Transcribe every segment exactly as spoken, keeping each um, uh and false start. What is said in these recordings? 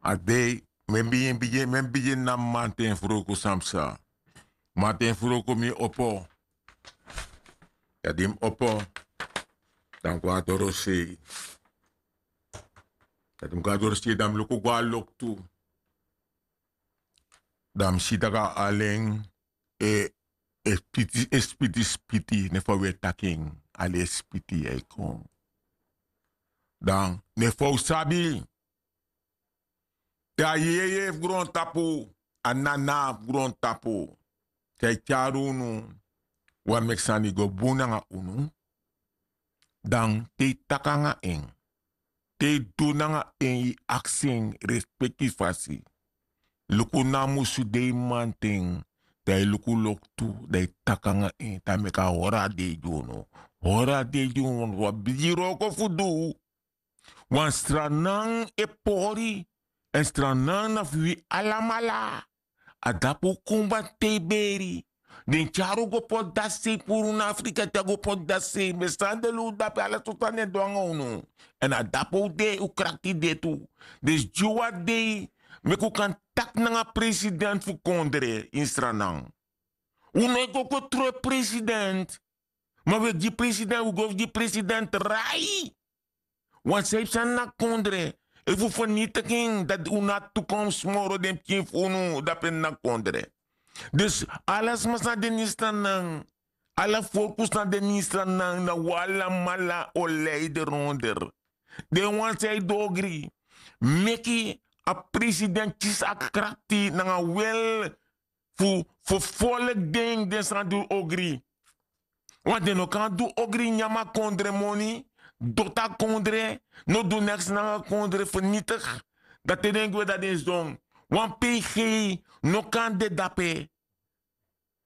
A dei mi e bigin bigin mi e bigin na mi manten froku san psa. Manten froku mi e opo. Ya di mi opo, dan mi go na dorosei. Ya di mi go na dorosei dan mi luku go na loktu. Dan mi si tak' a alen e spiti spiti spiti ne fa wi e taki en. Alen e spiti ya e kon. Dan ne fa un sabi te a jeje fu grontapu, a nana fu grontapu, te a e tyari unu wan meki sani go bun nanga unu. Dan te yu taki nanga en, te yu du nanga en yu aksi en respekti fasi. Luku na musu dei manten, dan yu luku loktu, dan yu taki nanga en dan meki a hori a dei gi unu. Hori a dei gi unu wan bigi wroko fu du. Wan stranan e pori, èn stranan na fu wi alamala. A dapu un kumba te yu beri. Den tyari un go poti dati sei puru na afrika te a go poti dati sei mi e sani den luku dape ala so sani e du nanga unu. Èn a dapu un de un krakti de tu. Den si gi un a dei meki un kan taki nanga president fu kondre ini stranan. Un no e go go tron e president. Ma wi e gi president wi go fu gi president rai. Wan san e psa na kondre efu fu fernitigi en dati un na tukomsi moro den pikin fu unu dape na kondre. Dus ala sma san de ni stan nan, ala forkus san de ni stan nan na un alamala o lei de ronder. Den wan san e dogri meki a president kisi a krakti nanga wel fu folki den den san du ogri. Want den no kan du ogri nyan a kondre moni, doti a kondre, no du neks nanga kondre fernitik. Dan te den gwe dan den sidon wan pg no kan de dape.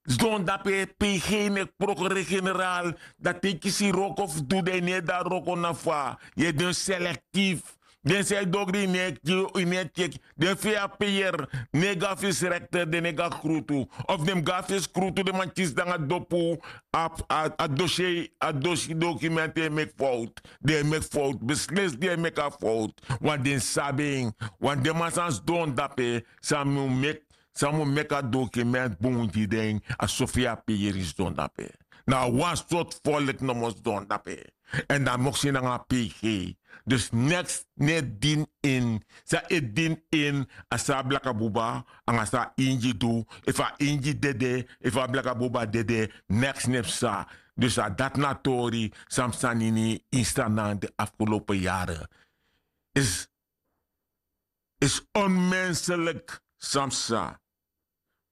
Sidon dape pg meki prokure generaal. Dan te yu kisi wroko fu du dan yu no e du a wroko na fa yu e du en selektif. Den san e dogri yu no e tyeki den fu yu a peyer. No e go na fesi rekter den no e go na skrutu of den mus go na fesi skrutu den man kisi nanga dopu. A dosi a dosi dokumenti e meki fowtu. Den e meki fowtu beslesi den e meki a fowtu. Wan den sabi en. Wan den man san sidon dape san mi meki san mi meki a dokumenti bun gi den a so fu yu a peyer sidon dape. Na a wan sortu folki nomo sidon dape. Èn dan moksi nanga a pg. Dus neks no e dini ini san e dini ini a san a blaka buba nanga san a ingi du. Efu a ingi dede efu a blaka buba dede neks no e psa. Dus a dati na a tori san psa na ini ini stan na den afgelopen yare. Is is onmenselik. San psa?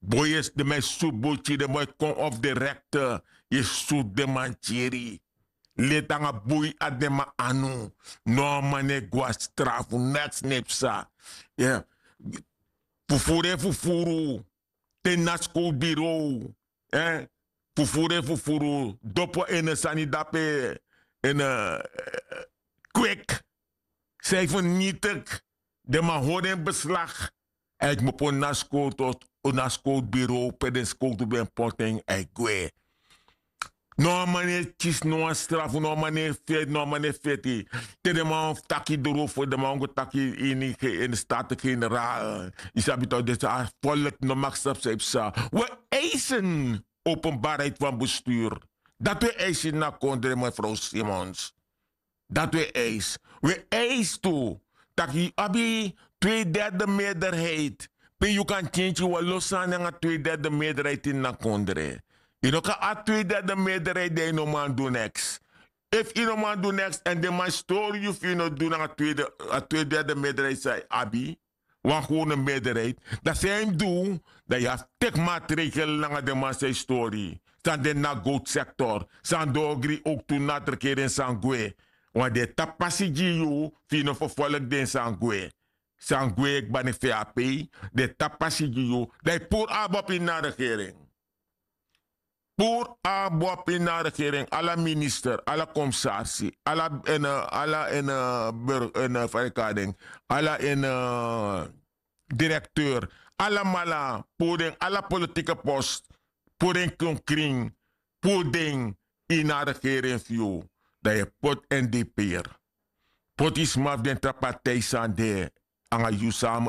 Boi yu e si den man e sutu boi kiri den man e kon ofu direkte. Yu e sutu den man kiri leti nanga boi na den man anu. No a man no e go na strafu neks no e psa. Fufuru e fufuru. Te na skowtu birow fufuru e fufuru dopo en sani dape en kwek. San e fernitik. Den man hori en beslag. A e kmopo na skowtu na skowtu birow pe den skowtu ben poti en a e gwe. No a man no e kisi no wan strafu no a man no e feti no a man no e feti. Te den man wan fu taki doro fu den man wan go taki ini staten generaal. Yu sabi tak' den san a folki no maki sabi san yu psa. Wi e eisen openbarheid fan bestuur. Dati wi e eisi ini a kondre mefrow simons. Dati wi e eisi. Wi e eisi tu tak' yu abi tweederde meerderheid pe yu kan kenki wan lo sani nanga tweederde meerderheid ini a kondre. Yu no kan abi tweederde meerderheid dan yu no man du neks. Efu yu no man du neks èn den man e stori yu fu yu no du nanga a tweederde meerderheid san yu abi wan gewone meerderheid. Dan san yu mus du dan yu abi teki matregel nanga den man san e stori yu. San den na gowtu sektor san dogri owktu na a regering san gwe. Wan den e tapu pasi gi yu fu yu no ferfolki den san gwe. San gwe kba ne fe a pei. Den e tapu pasi gi yu dan yu puru abi opi na a regering. Puru abi opi na a regering ala minister ala komisarsi ala en ala en burger en fa yu kan den ala en direkteur alamala puru den ala politike post. Puru den kon krin puru den ini a regering fu yu. Dan yu e poti en depeer. Poti yu sma fu den tra partij san de nanga yu samu